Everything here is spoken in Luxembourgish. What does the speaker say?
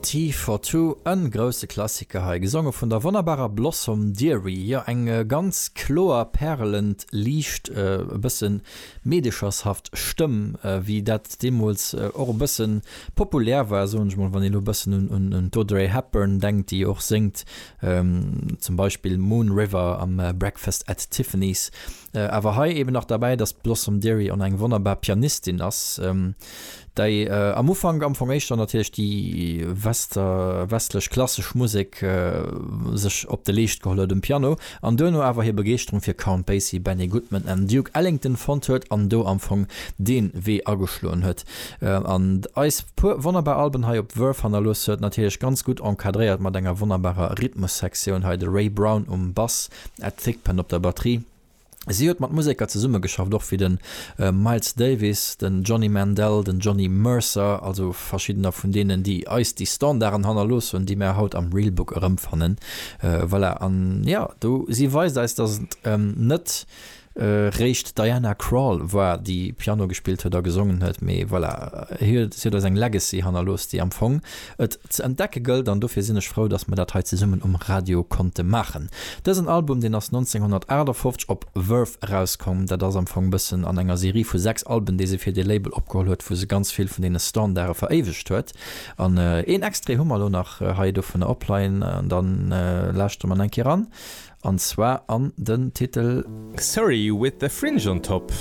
Tea for Two, en grousse Klassiker hei, gesonge vun der wonnerbarer Blossom Dearie. Jo, eng ganz kloer, pärelend, liicht, e bëssen meedechershaft Stëmm, wéi dat deemools och e bëssen populär war, soen ech mol, wann een elo e bëssen un d'Audrey Hepburn denkt, déi och séngt, zum Beispill Moon River am Breakfast at Tiffany's. Awer hei eben nach derbäi, dass d'Blossom Dearie och nach eng wonnerbar Pianistin ass, déi am Ufank am Fong éischter natierlech déi wester westlech klassesch Musek sech op de Leescht geholl huet um Piano an duerno awer hir Begeeschterung fir Count Basie, Benny Goodman an Duke Ellington fonnt huet an do am Fong dee Wee ageschloen huet an eis puer wonnerbar Alben hei op Verve hannerlooss huet, natierlech ganz gutt encadréiert mat enger wonnerbarer Rhythmussektioun, hei de Ray Brown um Bass, Ed Thigpen op der Batterie. Si huet mat Museker zesummegeschafft, och wéi de Miles Davis, den Johnny Mandel, den Johnny Mercer, also verschiddener vun deenen, déi eis déi Standarden hannerlooss hunn, déi mär haut am Real Book erëmfannen. Voilà, an jo, do, si weist eis, datt et net réischt d'Diana Krall war, déi Piano gespillt huet a gesongen huet, mee voilà, si huet eis eng Legacy hannerlooss, déi am Fong et ze entdecke gëllt an dofir sinn ech frou, dass mer dat hei zesummen um Radio konnte maachen. Dësen Album, deen ass 1958 op Verve erauskomm. Dat ass am Fong bëssen an enger Serie vu 6 Alben, déi se fir dee Label opgeholl huet, wou se ganz vill vun deene Standarde veréiwegt huet. An een Extrait hu mer elo nach hei dovunner opleien an dann lauschtere mer nach eng Kéier eran, an zwar an den Titel. Surrey with the Fringe on Top.